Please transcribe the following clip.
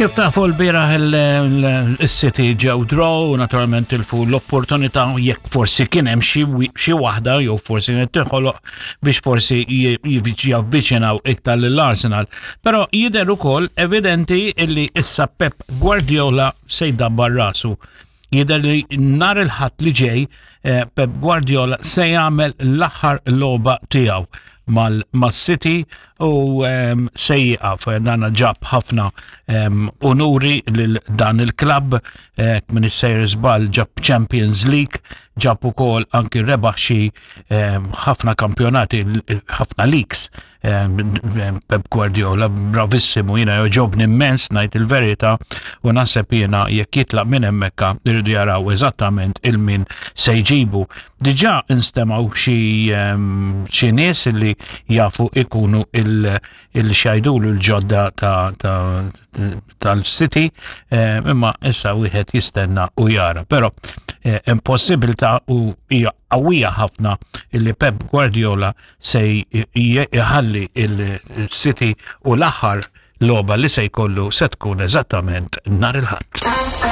Kif tafu l-bieraħ il-City ġew draw, naturalment tilfu l-opportunità jekk forsi kien hemm xi waħda jew forsi kienet tinħoloq biex forsi javviċinaw iktar lill-Arsenal. Però jidher ukoll evidenti illi issa Pep Guardiola se jdabbar rasu. Jidher li nhar il-Ħadd li ġej eh, Pep Guardiola se jagħmel l-aħħar logħba tiegħu mal-City u ehm, se jieqaf dan ġab ħafna ehm, unuri lil dan il-klabb eh, minn is-sejr żball ġab Champions League ġab ukoll anki rebaħ xi ehm, ħafna kampjonati ħafna leagues Pep Guardiola bravissimu jiena joġobni immens ngħid il-verità u naħseb jiena jekk jitlaq minn hemmhekk irridu jaraw eżattament il-min se jġibu. Diġà instemgħu xi xi nies li jafu ikunu il-xajdulu l-ġodda tal-City imma issa wieħed jistenna u jara. Però eh, hemm possibilità u hija qawwija ħafna li Pep Guardiola se jħalli il-City u l-aħħar logħba li se jkollu se tkun eżattament nhar il-Ħadd.